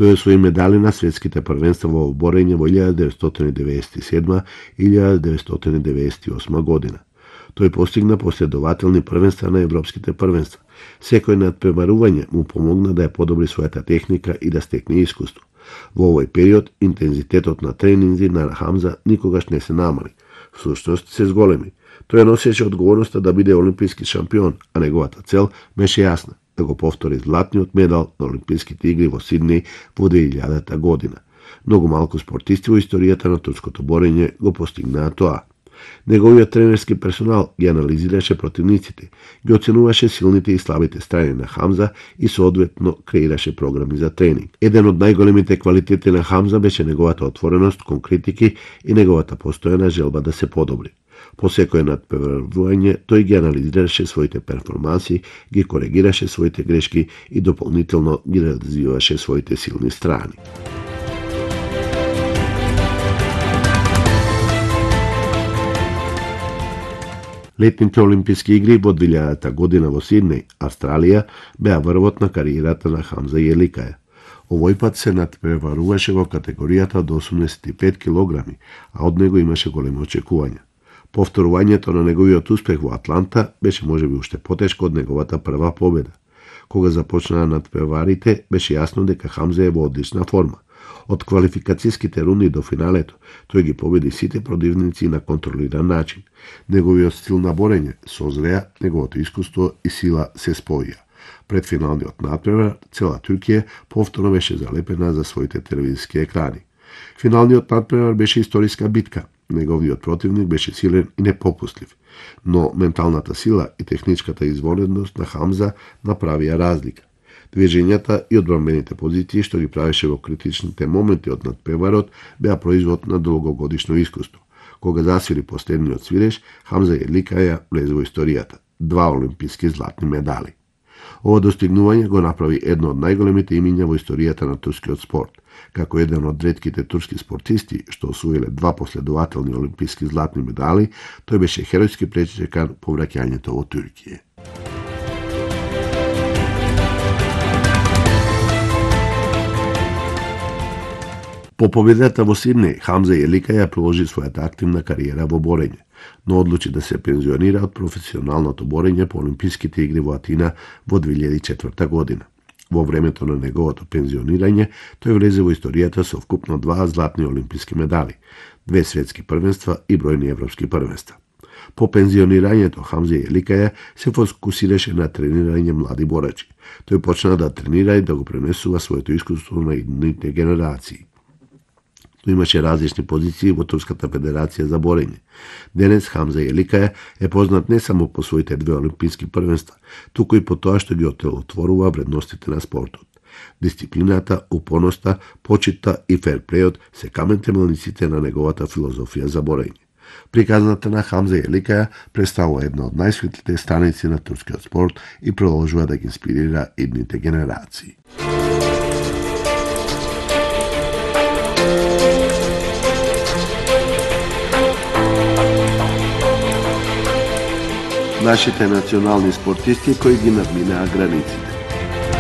Тој освои медали на светските првенства во борење во 1997 и 1998 година. Тој постигна последователни првенства на европските првенства. Секој надпреварување му помогна да ја подобри својата техника и да стекне искуство. Во овој период интензитетот на тренинзи на Хамза никогаш не се намали. Всушност се зголеми. Тој носеше одговорноста да биде олимписки шампион, а неговата цел беше јасна – да го повтори златниот медал на Олимписките игри во Сиднеј во 2000 година. Многу малку спортисти во историјата на турското борење го постигнаа тоа. Неговиот тренерски персонал ги анализираше противниците, ги оценуваше силните и слабите страни на Хамза и соодветно креираше програми за тренинг. Еден од најголемите квалитети на Хамза беше неговата отвореност кон критики и неговата постојана желба да се подобри. По секој надпреварување тој ги анализираше своите перформанси, ги коригираше своите грешки и дополнително ги развиваше своите силни страни. Летните олимписки игри во 2000 година во Сиднеј, Австралија, беа врвот на кариерата на Хамза Јеликаја. Овој пат се надпреваруваше во категоријата до 85 килограми, а од него имаше големи очекувања. Повторувањето на неговиот успех во Атланта беше можеби уште потешко од неговата прва победа. Кога започнаа надпреварите, беше јасно дека Хамза е во одлична форма. Од квалификацијските рунди до финалето, тој ги победи сите противници на контролиран начин. Неговиот стил на борење созреа, неговото искуство и сила се споија. Пред финалниот надпревар, цела Туркија повторно беше залепена за своите телевизиски екрани. Финалниот надпревар беше историска битка. Неговиот противник беше силен и непопустлив, но менталната сила и техничката извонедност на Хамза направија разлика. Движењата и одбранбените позиции што ги правеше во критичните моменти од надпреварот беа производ на долгогодишно искуство. Кога засвири последниот свиреш, Хамза Јеликаја влезе во историјата. 2 олимписки златни медали. Ова достигнување го направи едно од најголемите имиња во историјата на турскиот спорт. Како еден од ретките турски спортисти што освоиле 2 последователни олимписки златни медали, тој беше херојски пречекан по враќањето во Туркија. По победата во Сиднеј, Хамза Јеликаја продолжи својата активна кариера во борење, но одлучи да се пензионира од професионалното борење по Олимписките игри во Атина во 2004 година. Во времето на неговото пензионирање, тој влезе во историјата со вкупно 2 златни олимписки медали, 2 светски првенства и бројни европски првенства. По пензионирањето Хамза Јеликаја се фокусираше на тренирање млади борачи. Тој почна да тренира и да го пренесува своето искуство на идните генерации. Тој имаше различни позиции во Турската федерација за борење. Денес Хамза Јеликаја е познат не само по своите 2 олимписки првенства, туку и по тоа што ги отворува вредностите на спортот. Дисциплината, упорноста, почитта и ферплејот се камен темелниците на неговата филозофија за борење. Приказната на Хамза Јеликаја представува една од најсветлите страници на турскиот спорт и продолжува да ги инспирира идните генерации. Нашите национални спортисти кои ги надминаа границите.